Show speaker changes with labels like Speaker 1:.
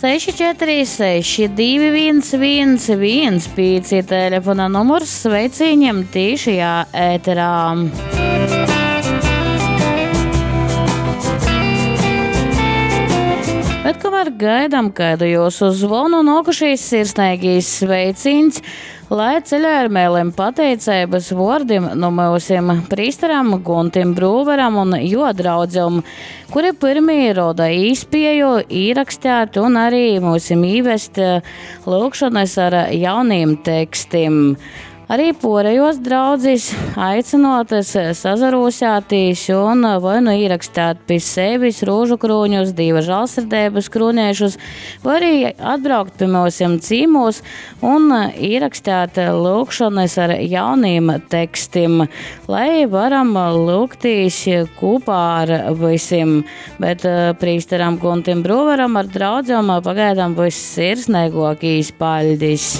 Speaker 1: 646 211 15 telefona numurs sveicīņiem tīšajā ēterā. Bet kamēr gaidām kaidu jūsu zvonu, nokušīs sirsneigīs sveicīns, lai ceļā ar mēliem pateiceibas vōrdim nu myusim prīsteram Guntim Brūveram un jo draudzem, kuri pyrmī roda īspēju īrakstēt un arī myusim īvest lūkšanas ar jauniem tekstim. Arī porejos draudzis aicinotas sazarūsētīs un vai nu īrakstēt pi sevis rūžu krūņus, dīva žālsirdības krūnēšus, vai arī atbraukt pi myusim cīmūs un īrakstēt lūkšanas ar jauniem tekstim, lai varam lūgtīs kopā ar visiem. Bet prīsteram Guntim Brūveram ar draudzēm pagaidām viss sirsnīgākīs paļdis.